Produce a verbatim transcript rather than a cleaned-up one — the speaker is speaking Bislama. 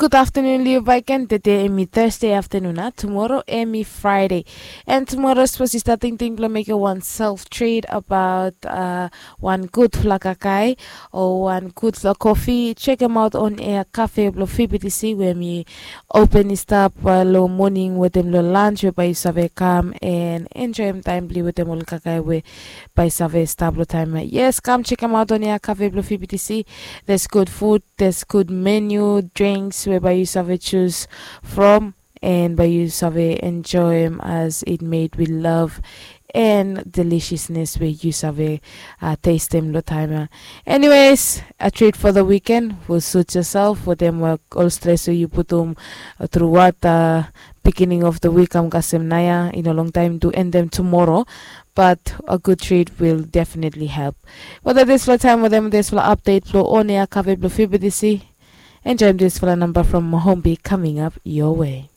Gud aftanun long yu baik gen. Tede em i Thursday aftanun, a tumoro em i Friday. And tumoro sapos yu stap tingting blong mekim wan self treat abaot wan gudfala kakae o wan gudfala kofi, chekem aot on air cafe blong fibitisi we em i open i stap long moning wetem long lunch we bae yu save kam and enjoem taem blong yu wetem ol kakae we bae yu save stap long taem ya. Yes, kam chekem aot on air cafe blong fibitisi. There's good food, there's good menu, drinks we bae yu save jus from and bae yu save enjoem as it made with love and deliciousness we yu save testem long taem ya. Anyways, a treat for the weekend will suit yourself wetem ol stres we yu putum truat. Beginning of the week kam kasem naoia, i no long taem tu endem tumoro. But a good treat will definitely help. Wetem disfala taem wetem disfala update blong on air cafe blong fibitisi, enjoem disfala namba from Mohombi coming up your way.